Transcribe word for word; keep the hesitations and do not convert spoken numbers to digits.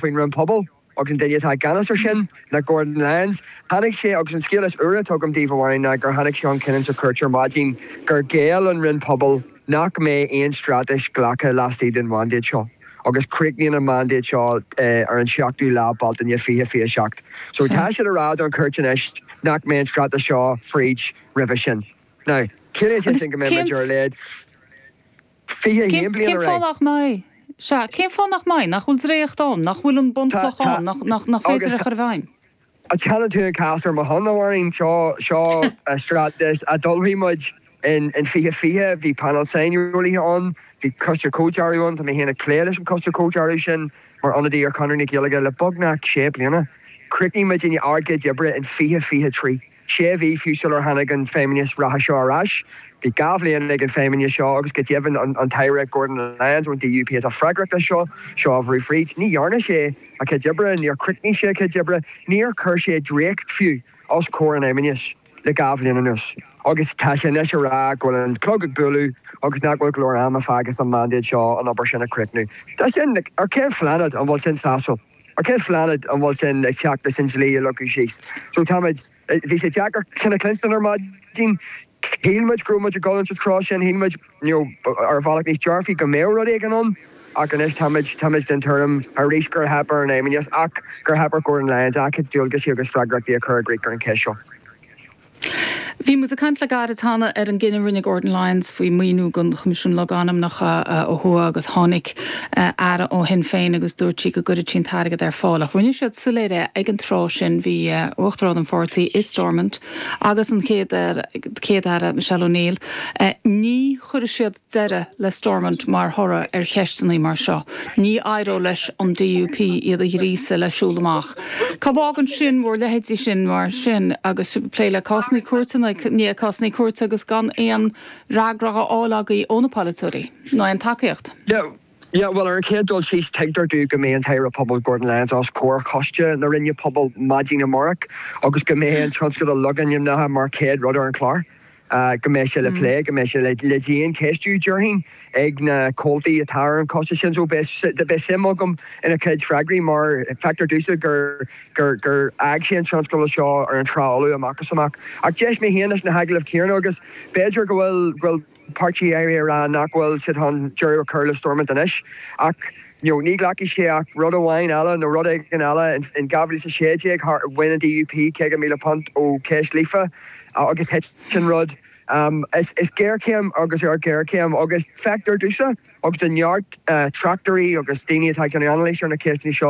faoin Roinn Pobal agus an duine atá i gceannas ar sin ná Gordon Lyons. Tháinig sé agus an scéal is úire atá agam daoibh amháin ná gur tháinig sé chun cinn sa chúirt ar maidin gur ghéill an Roinn Pobal nach mbeidh aon straitéis glactha laistigh den mhandate seo. agus críochnaíonn an mandate seo ar an seachtú lá Bealtaine fiche fiche seacht. So tá siad ag rá don chúirt anois nach mbeidh an straitéis seo fríd roimhe sin. Now, ciallaíonn sé sin go mbeidh muid ar a laghad fiche haon bliain ar aghaidh. Cén fáth nach mbeidh? Sea, cén fáth nach mbeidh? Nach bhfuil dréacht ann, nach bhfuil an bunchloch ann, nach nach féidir a chur i bhfeidhm? A teann tú an cás ar mo shon amháin seo seo straitéis a d'ullmhaigh muid in in fiche fiche, bhí panel saineolaithe ann, bhí coiste comhdhearaidh ann, tá mé féin ag plé leis an coiste comhdhearaidh sin mar ionadaí ar Chonradh na Gaeilge le beagnach sé bliana. Chríochnaigh muid ár gcuid oibre in fiche fiche trí. Sé mhí fiú sular tháinig an feidhmeannas reatha seo ar ais. Bhí dhá bhliain ag an feidhmeannas seo agus go deimhin an an tAire Gordon Lyons ón DUP atá freagrach as seo seo a bhrú fríd. Ní dhearna sé a chuid oibre, níor chríochnaigh sé a chuid oibre, níor chuir sé dréacht fiú os comhair an fheidhmeannais le dhá bhliain anuas. Agus tá sé anois ag rá go bhfuil an clog ag bualadh agus nach bhfuil go leor ama fágtha sa mandate seo an obair sin a chríochnú. Tá sin ar cén phláinéad an bhfuil sin sásúil? Ar cén phláinéad an bhfuil sin ag teacht leis an dlí a leagadh síos? So táimid bhí sé deacair sin a chluinstin ar maidin. Shíl muid go raibh muid ag dul sa treo sin, shíl muid you know, ar bhealach níos dearfaí go mbeadh rud éigin ann, ach anois táimid táimid den tuairim arís gur theip ar an fheidhmeannas ach gur theip ar Gordon Lyons a chuid dualgaisí agus freagrachtaí a chur i gcrích ar an cheist seo. Bhí muid ag caint le gairid cheana ar an gcinneadh a rinne Gordon Lyons faoi mhaoiniú don Choimisiún Logainmneacha ó thuaidh agus tháinig aire ó Shinn Féin agus dúirt sí go gcuirfeadh sí an t-airgead ar fáil. Ach rinne siad soiléir é ag an tráth sin bhí uachtarán an pháirtí i Stormont agus an chéad chéad aire Michelle O'Neill. Ní chuirfeadh siad deireadh le Stormont mar thoradh ar cheisteanna mar seo. Ní éireodh leis an DUP iad a ghríosadh le siúl amach. Cá bhfágann sin bhur leithéidí sin mar sin agus plé le cásanna cúirteanna ní cásanna cúirte agus gan aon fhreagra á fháil agaibh ó na polaiteoirí nó aon tacaíocht. Yeah. Yeah, well ar an chéad dul síos tuigtear dom go mbeidh an tAire Pobal Gordon Lyons os comhair choiste na Roinne Pobal maidin amárach agus go mbeidh an tionscadal logainmneacha mar chéad rud ar an chlár. Uh, go mbeidh sé le plé, go mbeidh sé le, le diancheistiú déarfainn ag na comhaltaí atá ar an choiste sin so beidh suim agam ina chuid freagraí mar feictear domhsa gur gur gur fhág sé an tionscadal seo ar an trá fholamh amach is amach. Ach d'éist mé féin leis na hagallaimh chéanna agus b'fhéidir go bhfuil go bhfuil páirtí éirí rá nach bhfuil siad chun deireadh a chur le Stormont anois ach you know, ní ghlacfaidh sé ach rud amháin eile nó rud éigin eile in dhá mhíle is sé déag bhain an DUP caoga míle punt ó cheist Líofa agus thit sin rud. Um, is, is géarchéim agus ar géarchéim agus feictear domhsa agus do neart uh, tráchtairí agus daoine atá ag déanamh anailís ar na ceisteanna seo